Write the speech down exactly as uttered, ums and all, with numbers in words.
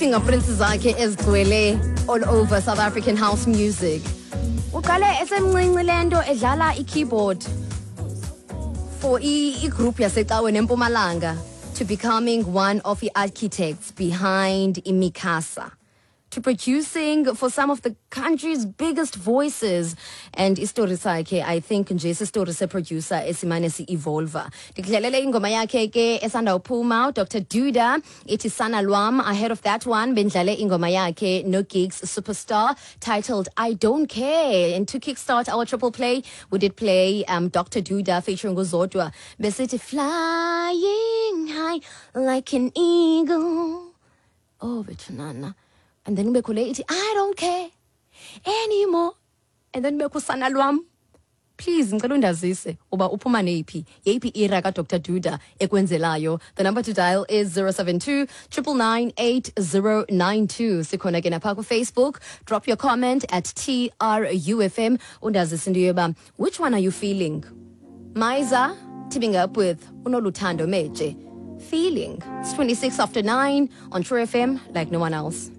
Ii-fingerprints zakhe ezigcwele all over South African house music. Uqale esemncinci le nto edlala i-keyboard for i- igroup yasecaweni eMpumalanga to becoming one of the architects behind iMicasa, to producing for some of the country's biggest voices. And istori sakhe, I think nje sisitori seproducer esimane si-evolva. Ndikudlalele ingoma yakhe ke esandawuphuma, uDr Duda, ithi Sana Lwam. Ahead of that one, bendlale ingoma yakhe no-Gigs Superstar titled I Don't Care. And to kickstart our triple play, we did play um, Doctor Duda featuring uZodwa, besithi Flying High Like an Eagle. Oh, bethunana. And then kubekho le ithi I Don't Care Anymore, and then kubekho Sana Lwam. Please, ngicela undazise uba uphuma neyiphi, yeyiphi era kaDr Duda ekwenzelayo. The number to dial is zero seven two nine nine nine eight zero nine two. Sikhona ke napha kuFacebook. Drop your comment at T R U F M. Undazise into yoba which one are you feeling. Miza teaming up with uNoluthando Meje, Feeling. It's twenty-six after nine on True F M, like no one else.